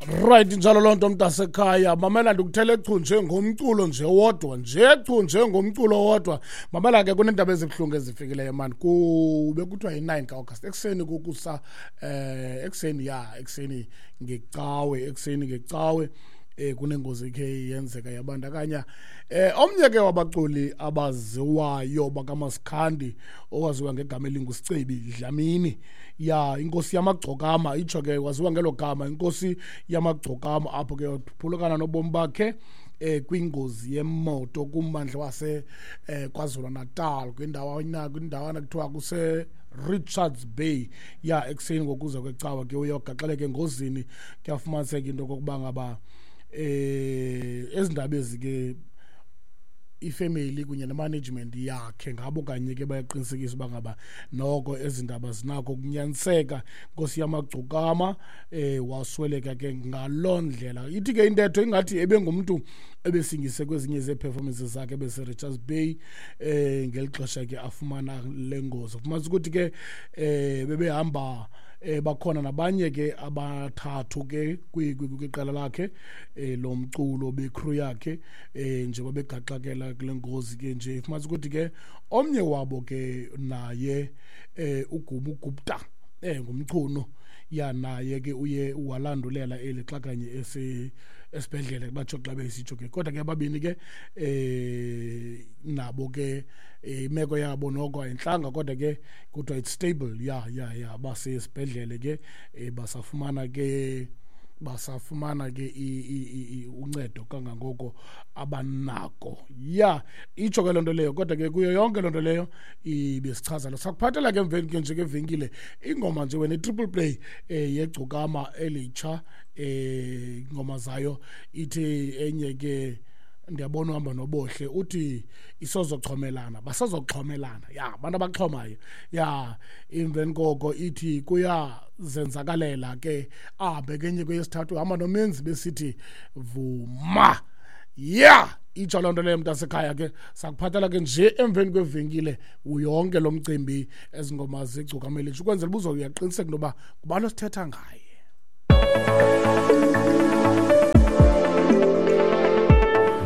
Right, njalo loo nto, mntasekhaya. Mamela, ndikuthele chu nje ngomculo nje wodwa, nje chu nje ngomculo wodwa. Mamela ke, kuneendaba ezibuhlungu ezifikileyo mani. Kube kuthiwa yi-9 ka-August ekuseni, kukusa ekuseni, ya, ekuseni ngecawe, ekuseni ngecawe, kunengozi ekhe yenzeka yabandakanya omnye ke wabaculi abaziwayo bakamaskandi owaziwa ngegama elinguSicebi Dlamini, ya, inkosi yamagcokama, itsho ke waziwa ngelo gama, inkosi yamagcokama, apho ke phulukana nobomi bakhe kwingozi yemoto kummandla wase KwaZulu Natal, kwindawana kuthiwa kuse Richards Bay. Ya, ekuseni ngokuza kwecawa ke uyogaxeleka engozini. Kuyafumaniseka into okokuba ngaba ezindaba ezi ke ifamily kunye nemanagement yakhe ngabo kanye ke bayaqinisekisa uba ngaba noko ezi ndaba zinako ukunyaniseka. Nkosi yamagcokama wasweleka ke ngaloo ndlela. Ithi ke intetho ingathi ebengumntu ebesingise kwezinye zee-performances zakhe bese-Richards Bay ngeli xesha ke afumana le ngozi. Ufumanisa ukuthi ke bebehamba bakhona nabanye ke abathathu ke kwiqela lakhe lomculo, becrew yakhe, njengoba begaxakela kule ngozi ke nje. Fumanisa ukuthi ke omnye wabo ke naye uGubu Gupta, ngumchuno ya, naye ke uye walandulela eli xa kanye esibhedlele, batsho xa besitsho ke. Kodwa ke ababini ke nabo ke imeko yabo noko ayintlanga, kodwa ke kuthiwa it's stable. Ya, basesibhedlele ke, basafumana ke uncedo kangangoko abanako. Ya, itsho ke loo nto leyo. Kodwa ke kuyo yonke loo nto leyo ibesichaza lo sakuphathela ke emveni ke nje ke venkile ingoma nje wena, i-triple play yegcokama elitsha, ingoma zayo. Ithi enye ke, ndiyabona uhamba nobohle, uthi isozoxhomelana, basazoxhomelana, ya, abantu abaxhomayo. Ya, emveni koko ithi kuyazenzakalela ke, ahambe kenye kweyesithathu uhamba nomenzi besithi vuma. Ya, itsho loo nto leyo, mntasekhaya. Ke sakuphathela ke nje emveni kwevenkile yonke lo mcimbi, ezingoma zigcokama elitsha, ukwenzela uba uzoyaqiniseka into yoba ngubani osithetha ngaye.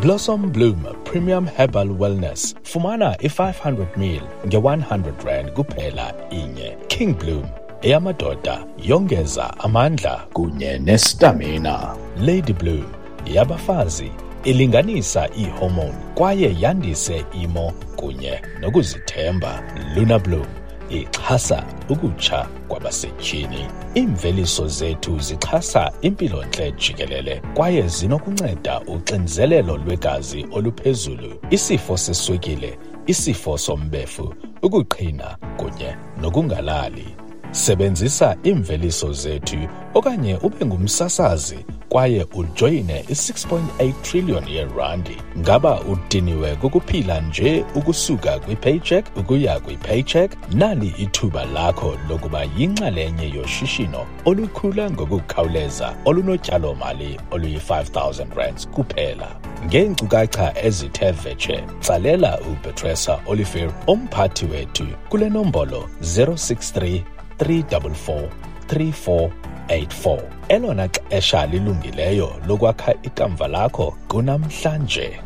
Blossom Bloom Premium Herbal Wellness. Fumana i-500 ml nge-100 rand kuphela inye. King Bloom eyamadoda, yongeza amandla kunye nestamina. Lady Bloom yabafazi, ilinganisa iihormone kwaye yandise imo kunye nokuzithemba. Luna Bloom ixhasa ukutsha kwabasetyhini. Iimveliso zethu zixhasa impilontle jikelele kwaye zinokunceda uxinzelelo lwegazi oluphezulu, isifo seswekile, isifo sombefu, ukuqhina kunye nokungalali. Sebenzisa iimveliso zethu okanye ube ngumsasazi kwaye ujoyine i-6.8 trillion yeerandi. Ngaba udiniwe kukuphila nje ukusuka kwi-paycheck ukuya kwi-paycheck? Nali ithuba lakho lokuba yinxalenye yoshishino olukhula ngokukhawuleza olunotyalomali oluyi-5000 rands kuphela. Ngeenkcukacha ezithe vetshe, tsalela uPetresa Olivier, umphathi wethu, kule nombolo 063 344 3484. Elona xesha lilungileyo lokwakha ikamva lakho kunamhlanje.